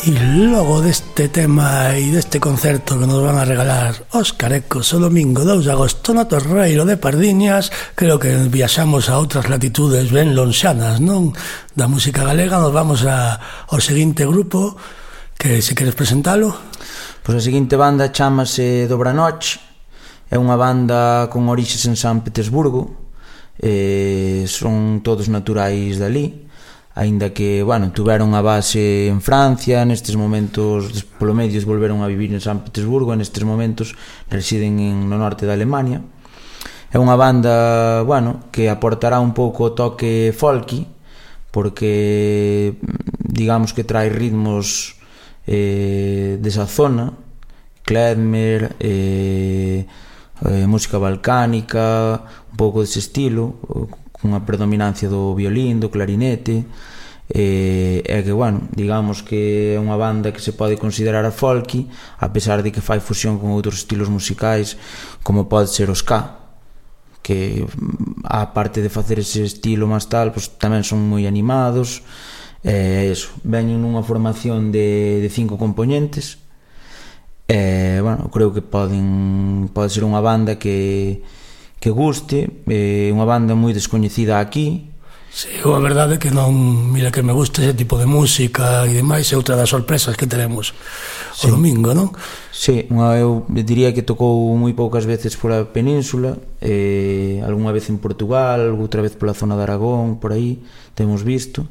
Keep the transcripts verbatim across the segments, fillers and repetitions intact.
E logo deste tema e deste concerto que nos van a regalar os Carecos o domingo dous de agosto no Torreiro de Pardiñas, creo que viaxamos a outras latitudes ben lonxanas, non? Da música galega. Nos vamos a, ao seguinte grupo, que se queres presentalo. Pois a seguinte banda chamase Dobranoch, é unha banda con orixes en San Petersburgo, eh, son todos naturais dali, aínda que, bueno, tuveron a base en Francia, nestes momentos, polo medio, volveron a vivir en San Petersburgo, e nestes momentos residen en, no norte da Alemania. É unha banda, bueno, que aportará un pouco o toque folky, porque, digamos que trae ritmos eh, desa zona, klezmer, eh, eh, música balcánica, un pouco dese estilo, cunha predominancia do violín, do clarinete, e é que, bueno, digamos que é unha banda que se pode considerar a folky, a pesar de que fai fusión con outros estilos musicais, como pode ser o ska, que a parte de facer ese estilo máis tal, pues, tamén son moi animados, e eso, veñen nunha formación de, de cinco componentes, e, bueno, creo que poden pode ser unha banda que que guste, é unha banda moi descoñecida aquí. Si, sí, a verdade é que non, mira que me gusta ese tipo de música e demais, é outra das sorpresas que teremos o sí. domingo, non? Si, sí, eu diría que tocou moi poucas veces por a península, eh, algunha vez en Portugal, outra vez pola zona de Aragón, por aí, temos visto,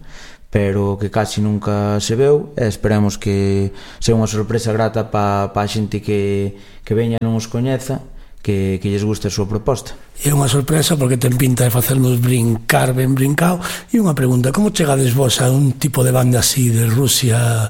pero que casi nunca se veu, e esperemos que sea unha sorpresa grata pa, pa a xente que, que veña non os coñeza, que, que lles guste a súa proposta. É unha sorpresa porque ten pinta de facernos brincar ben brincao. E unha pregunta, como chegades vos a un tipo de banda así de Rusia,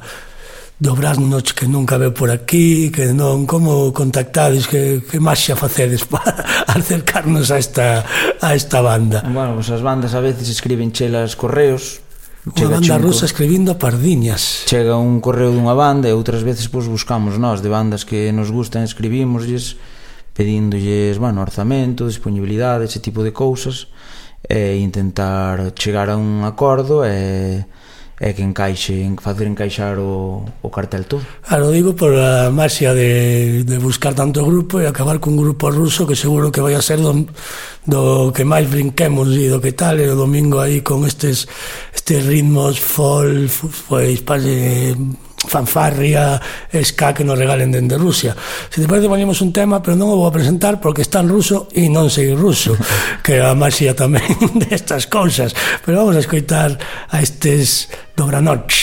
Dobranoch, que nunca veu por aquí, que non, como contactades, que, que maxia facedes para acercarnos a esta, a esta banda? Bueno, pues as bandas a veces escriben chelas correos, unha banda rusa escribindo a Pardiñas. Chega un correo dunha banda e outras veces pois buscamos nós de bandas que nos gustan, escribímoslles pedíndolles, bueno, orzamento, disponibilidade, ese tipo de cousas, e intentar chegar a un acordo e, e que encaixe, facer encaixar o, o cartel todo. Claro, digo por a maxia de, de buscar tanto grupo e acabar cun grupo ruso que seguro que vai a ser do, do que máis brinquemos e do que tal, e o domingo aí con estes estes ritmos folk, pois pase fanfarria, ska que nos regalen dende Rusia. Se te parece, ponemos un tema, pero non o vou a presentar porque está en ruso e non sei ruso, que é a maxia tamén destas cousas. Pero vamos a escoitar a estes Dobranoch.